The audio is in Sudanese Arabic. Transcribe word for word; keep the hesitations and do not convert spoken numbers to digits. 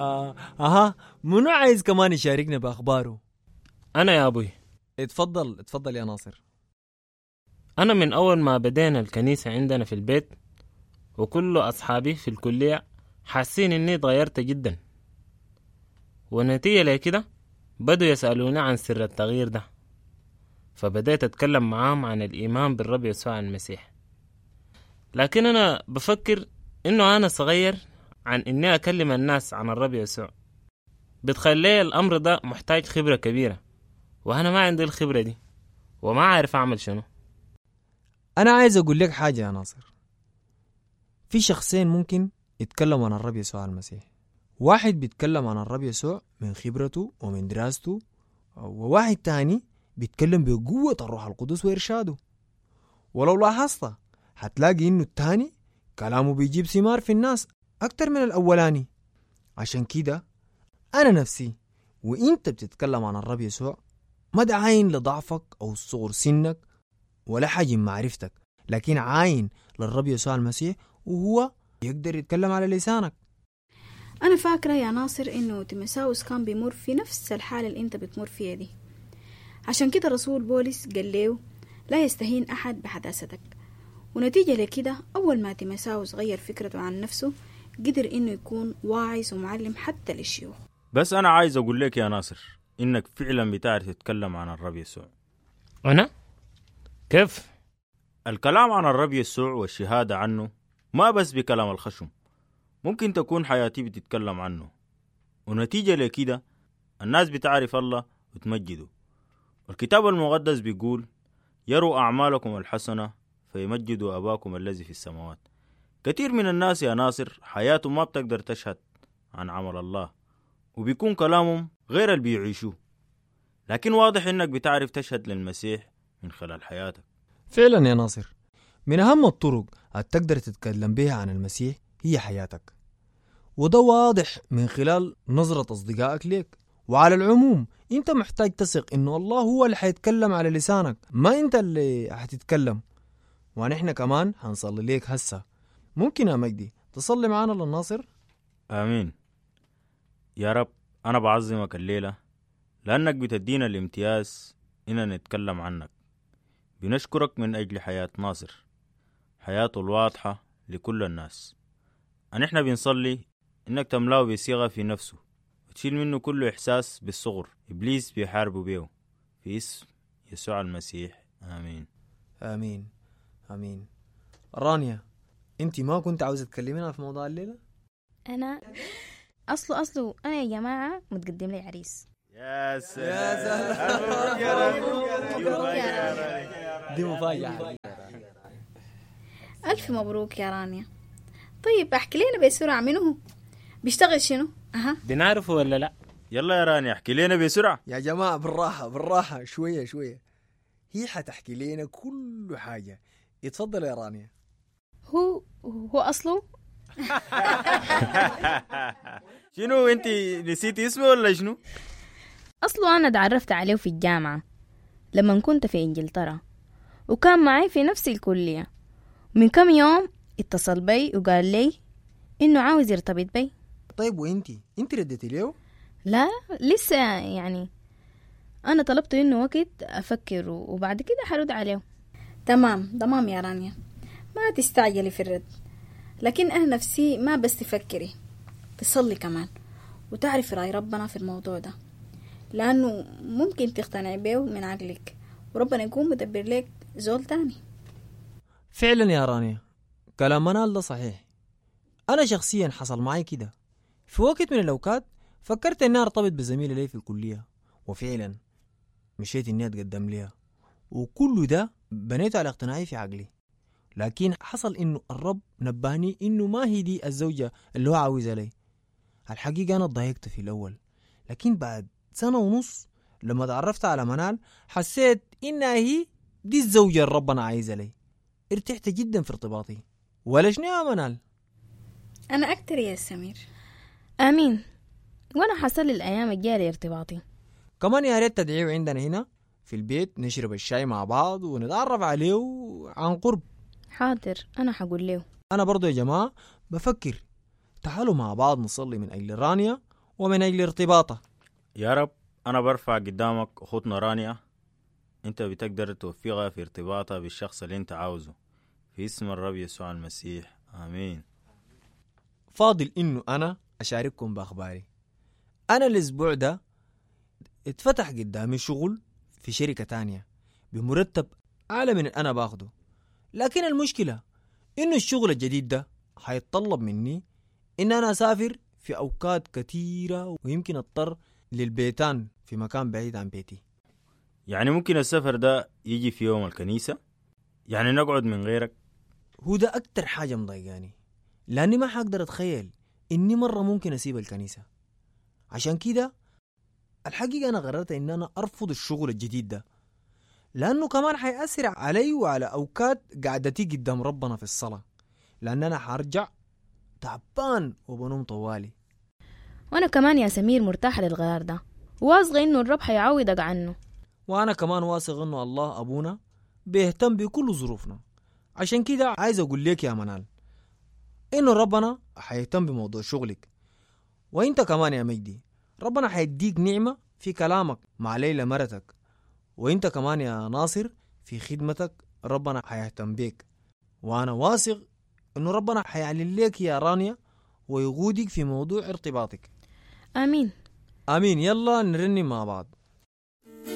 آه. اها منو عايز كمان يشاركنا باخباره؟ أنا يا أبوي. اتفضل اتفضل يا ناصر. أنا من أول ما بدينا الكنيسة عندنا في البيت وكل أصحابي في الكلية حاسين إني اتغيرت جدا، ونتيجة لكده بدوا يسألوني عن سر التغيير ده، فبدأت أتكلم معاهم عن الإيمان بالرب يسوع المسيح. لكن أنا بفكر إنه أنا صغير عن إني أكلم الناس عن الرب يسوع، بتخلي الأمر ده محتاج خبرة كبيرة، وأنا ما عندي الخبرة دي وما عارف أعمل شنو. أنا عايز أقول لك حاجة يا ناصر. في شخصين ممكن يتكلموا عن الرب يسوع المسيح. واحد بيتكلم عن الرب يسوع من خبرته ومن دراسته، وواحد تاني بيتكلم بقوة الروح القدس وإرشاده. ولو لاحظت هتلاقي إنه التاني كلامه بيجيب ثمار في الناس أكتر من الأولاني. عشان كده أنا نفسي وإنت بتتكلم عن الرب يسوع ما تعاين لضعفك أو صغر سنك ولا حجم معرفتك، لكن عاين للرب يسوع المسيح وهو يقدر يتكلم على لسانك. أنا فاكرة يا ناصر إنه تيموثاوس كان بيمر في نفس الحالة اللي أنت بتمر فيها دي، عشان كده رسول بولس قال له لا يستهين أحد بحداثتك. ونتيجة لكده أول ما تيموثاوس غير فكرته عن نفسه قدر إنه يكون واعظ ومعلم حتى للشيوخ. بس أنا عايز أقول لك يا ناصر إنك فعلا بتعرف تتكلم عن الرب يسوع. أنا؟ كيف؟ الكلام عن الرب يسوع والشهادة عنه ما بس بكلام الخشم، ممكن تكون حياتي بتتكلم عنه، ونتيجة لكده الناس بتعرف الله وتمجده. الكتاب المقدس بيقول يروا أعمالكم الحسنة فيمجدوا أباكم الذي في السماوات. كثير من الناس يا ناصر حياتهم ما بتقدر تشهد عن عمل الله، وبيكون كلامهم غير اللي بيعيشوه، لكن واضح إنك بتعرف تشهد للمسيح من خلال حياتك. فعلا يا ناصر، من أهم الطرق اللي تقدر تتكلم بها عن المسيح هي حياتك، وده واضح من خلال نظرة أصدقائك ليك. وعلى العموم أنت محتاج تثق إنه الله هو اللي حيتكلم على لسانك، ما أنت اللي حتتكلم. ونحن كمان هنصلي ليك هسه. ممكن يا مجدي تصلي معانا للناصر؟ آمين. يا رب أنا بعظمك الليلة لأنك بتدينا الامتياز إننا نتكلم عنك. بنشكرك من أجل حياة ناصر، حياته الواضحة لكل الناس. نحن بنصلي إنك تملأه بصيغة في نفسه وتشيل منه كل إحساس بالصغر إبليس بيحاربه بيه، في اسم يسوع المسيح، آمين. آمين آمين. رانيا، أنت ما كنت عاوزة تكلمينا في موضوع الليلة؟ أنا أصله أصله أنا يا جماعة متقدم لي عريس. يا سلام، دي مفاجأة. ألف مبروك يا رانيا. طيب احكي لنا بسرعة منه بيشتغل شنو؟ أها بنعرفه ولا لا؟ يلا يا رانيا احكي لنا بسرعة. يا جماعة بالراحة بالراحة شوية شوية، هي حتحكي لنا كل حاجة. اتفضل يا رانيا. هو هو أصله شنو انت نسيتي اسمه ولا شنو؟ أصله أنا تعرفت عليه في الجامعة لما كنت في إنجلترا، وكان معي في نفس الكلية. من كم يوم اتصل بي وقال لي إنه عاوز يرتبط بي. طيب وإنتي إنتي ردتي له؟ لا لسه، يعني أنا طلبت إنه وقت أفكر وبعد كده حرد عليه. تمام تمام يا رانيا، ما تستعجلي في الرد، لكن أنا نفسي ما بس تفكري، تصلي كمان وتعرفي رأي ربنا في الموضوع ده، لأنه ممكن تقتنعي بيه من عقلك وربنا يكون مدبر لك زول تاني. فعلا يا رانيا كلام منال ده صحيح. أنا شخصيا حصل معي كده في وقت من الأوقات، فكرت إني أرتبط بزميلة لي في الكلية، وفعلا مشيت إني أتقدم ليها، وكل ده بنيته على اقتناعي في عقلي. لكن حصل إنه الرب نبهني إنه ما هي دي الزوجة اللي هو عاوزها لي. الحقيقة أنا اتضايقت في الأول، لكن بعد سنة ونص لما تعرفت على منال حسيت إنها هي دي الزوجة اللي ربنا عايزها لي. ارتحت جدا في ارتباطي. ولا شنو يا منال؟ أنا أكتر يا سمير. آمين. وأنا حصل الأيام الجاية ارتباطي كمان. يا ريت تدعيه عندنا هنا في البيت، نشرب الشاي مع بعض ونتعرف عليه عن قرب. حاضر، أنا حقول له. أنا برضو يا جماعة بفكر تعالوا مع بعض نصلي من أجل رانيا ومن أجل ارتباطها. يا رب أنا برفع قدامك أختنا رانيا، أنت بتقدر توفقها في ارتباطها بالشخص اللي أنت عاوزه، في اسم الرب يسوع المسيح، آمين. فاضل إنه أنا أشارككم بأخباري. أنا الأسبوع ده اتفتح قدامي شغل في شركة تانية بمرتب أعلى من اللي أنا باخده، لكن المشكلة إنه الشغل الجديد ده حيتطلب مني إن أنا أسافر في أوقات كثيرة، ويمكن أضطر للبيتان في مكان بعيد عن بيتي. يعني ممكن السفر ده يجي في يوم الكنيسة؟ يعني نقعد من غيرك؟ هو ده أكتر حاجة مضايقاني، لأني ما حقدر أتخيل إني مرة ممكن أسيب الكنيسة. عشان كده الحقيقة أنا قررت إن أنا أرفض الشغل الجديد ده، لأنه كمان حيأثر علي وعلى أوقات قعدتي قدام ربنا في الصلاة، لأن أنا حرجع تعبان وبنوم طوالي. وأنا كمان يا سمير مرتاحة للغيار ده، واثقة إنه الرب حيعوضك عنه. وأنا كمان واثق إنه الله أبونا بيهتم بكل ظروفنا. عشان كده عايز أقول لك يا منال إنه ربنا حيهتم بموضوع شغلك، وإنت كمان يا مجدي ربنا حيديك نعمة في كلامك مع ليلى مرتك، وإنت كمان يا ناصر في خدمتك ربنا حيهتم بيك. وأنا واثق إنه ربنا حيعلن لك يا رانيا ويقودك في موضوع ارتباطك. آمين آمين. يلا نرنم مع بعض.